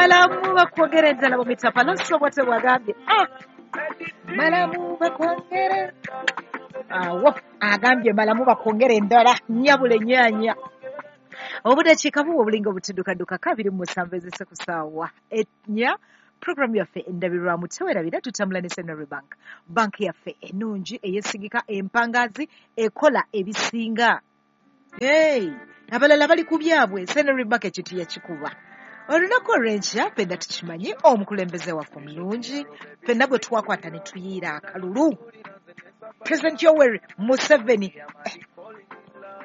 Malamu bakwongere endala mu mitapa nosobwate bwagambye. Ah! Malamu bakwongere. Awo agambye malamu bakwongere endala nyabula ennyaanya. Obudakiika buwa obulinga obutuddukaduka 27 ezise ku ssaawa 4. Programu yaffe endabirwamu tewerabira tutambula ne Centenary Bank. Bank yaffe ennungi eyesigika empangazi ekola ebisinga. Hey, abalala bali ku byabwe, Centenary Bank ekintu yakikuba. Olunaku olw'enkya ffenna tukimanyi omukulembeze waffe omulungi ffenna gwe twakwata ne tuyiira akalulu President Yoweri Museveni.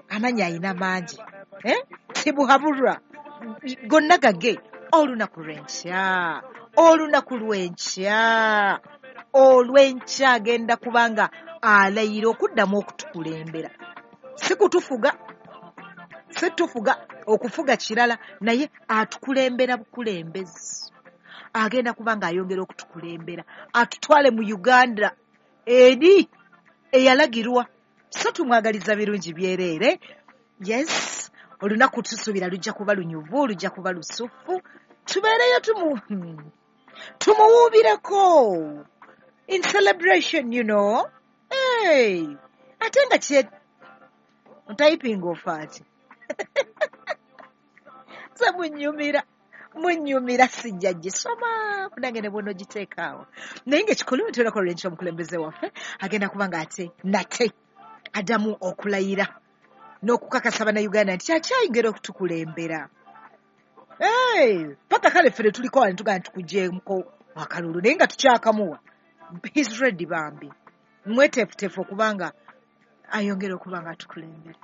Amannya ayina mangi, tibuhabulwa gonna gage. Olunaku lw'enkya, olunaku lw'enkya, olw'enkya agenda kubanga alayira okuddamu okutukulembera. Si kutufuga, si tufuga, okufuga kirala, naye atukulembera bukulembezi. Agenda kubanga ayongera okutukulembera, atutwale mu Uganda eri eyalagirwa. So tumwagaliza birungi byereere. Yes, olunaku tusuubira lujja kuba lunyuvu, lujja kuba lusufu. Tubeereyo tumuwuubireko in celebration, you know. Hey, ate nga kye typing ofaaki. Nze munyumira sijja gisoma kunange ne bw'onoogiteeka awo. Naye ng'ekikulu nti olunaku olw'enkya omukulembeze waffe agenda kuba nga ate nate addamu okulayira n'okukakasa Bannayuganda nti akyayongera okutukulembera. Hey, paka kale ffe tuliko wano tugamba tukugyeko akalulu naye nga tukyakamuwa. He's ready bambi. Mweteefuteefu okubanga ayongera okuba nga atukulembera.